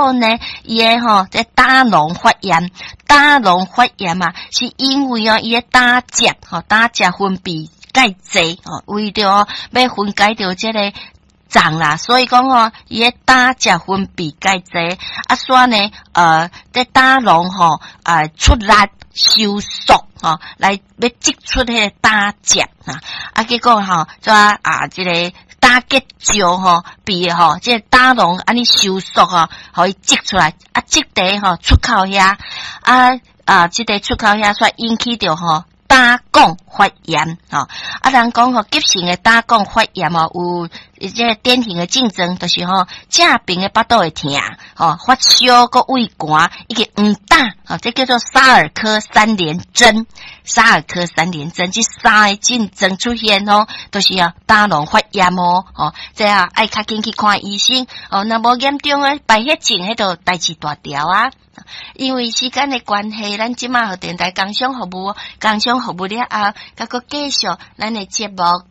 果呢，伊的吼這膽囊發炎，膽囊發炎啊，是因為哦，伊的膽汁吼，膽汁分泌蓋濟吼，為著哦欲分解著這個臟啦，所以講吼，伊的膽汁分泌蓋濟，啊，煞呢，這膽囊吼啊出力收縮吼，來欲擠出彼个膽汁啊，啊，結果吼，怎啊，這個膽結石吼，被吼，這個膽囊按呢收縮吼，予伊擠出來，啊，擠佇吼出口遐，啊啊，這个出口遐煞引起著吼膽管發炎，吼，啊，人講吼急性的膽管發炎哦，有這个典型的症狀，就是吼正爿的腹肚會疼，吼發燒，閣畏寒，以及黃疸，吼，這叫做沙爾科三聯徵。沙爾科三聯徵，這三个症狀出現吼，就是啊膽囊發炎哦，吼，這啊愛較緊去看醫生，哦，若無嚴重的敗血症，彼就代誌大條啊。因為時間的關係，咱這馬予電台工商服務，工商服務了後，閣閣繼續咱的節目。